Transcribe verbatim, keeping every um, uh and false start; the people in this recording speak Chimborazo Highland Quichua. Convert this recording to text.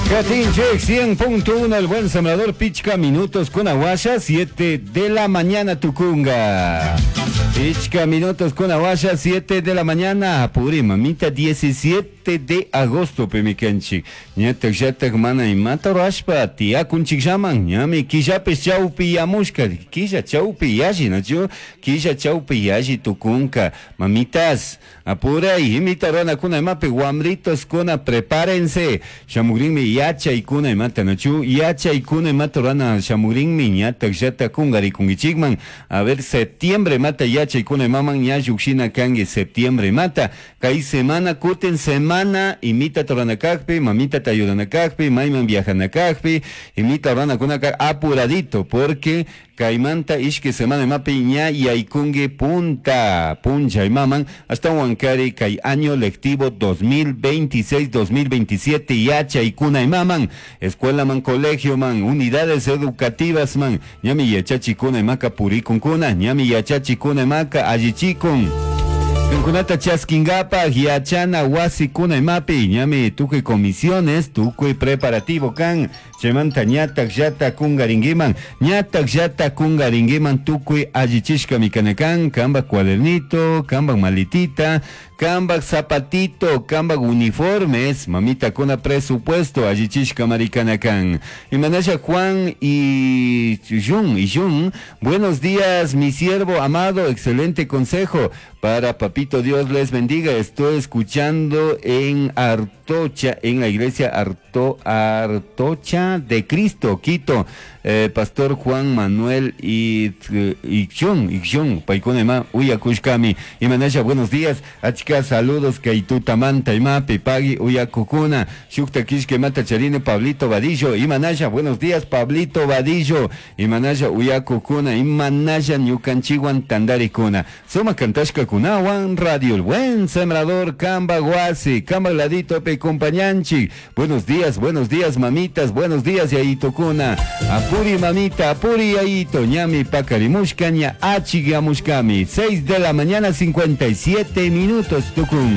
Catinchek cien punto uno, el buen sembrador, pichca minutos con aguasha, siete de la mañana tucunga. Pichca minutos con aguasha, siete de la mañana, apuri mamita, diecisiete de agosto, pemikanchik. Ñatak yatak mana imata rashpa, tiyakunchik llaman, ñami killapis chawpi yamushka, killa chawpi yalli, nachu? Killa chawpi yalli tukunka. Mamitas, apuray, imita runakuna imapi, wamritos kuna, prepárense. Shamugrinmi yachaykuna imata, nachu? Yachaykuna imata runa shamugrinmi, ñatak llatak kungarikunkichikman. A ver, septiembre mata yachaykuna imaman ña llukshina kanki septiembre mata. Kay semana kutin semana imita toranakakpi, mamita tayudanakakpi, mayman viajanakakpi, imita ranakunaka apuradito, porque kaymanta ishki semana imapi ña yaykunki punta puncha imaman hasta Huancari kay año lectivo dos mil veintiséis dos mil veintisiete yachaykuna imaman, escuela man, colegio man, unidades educativas man, ñami yachachikuna imaka purikunkuna, ñami yachachikuna imaka allichikun. Kunata chaskingapak yachana wasikuna imapi ñami tukuy comisiones, tukuy preparativo kan, chaymanta ñatak llata kungarinkiman, ñatak llata kungarinkiman tukuy allichishka mikanakan, kambak cuadernito, kambak maletita, kambak zapatito, kambak uniformes, mamita kuna presupuesto allichishka marikanakan. Imanasha Juan y Jun, y Jun, buenos días mi siervo amado, excelente consejo para papito Dios les bendiga. Estoy escuchando en Artocha, en la iglesia Arto, Artocha de Cristo, Quito. Eh, Pastor Juan Manuel y, y Jun, y Jun, Paikunema, Uyakushkami. Imanasha, buenos días. Achka, saludos, Kaitutamanta, Imapi, Pagui, Uyakukuna, Shukta Kishke, Mata Charine, Pablito Vadillo. Imanasha, buenos días, Pablito Vadillo. Imanasha, Uyakukuna, Imanasha, Ñukanchiwan, Tandarikuna. Suma Kantashka Kunawan, Radio El Buen Sembrador, Kamba Guasi, Kamba Ladito, Pe Compañanchi. Buenos días, buenos días, mamitas, buenos días, Yaito Kuna. Apuri mamita, apuri yaito, ñami pakarimushka, ña achigamushkami. seis de la mañana, cincuenta y siete minutos, tukun.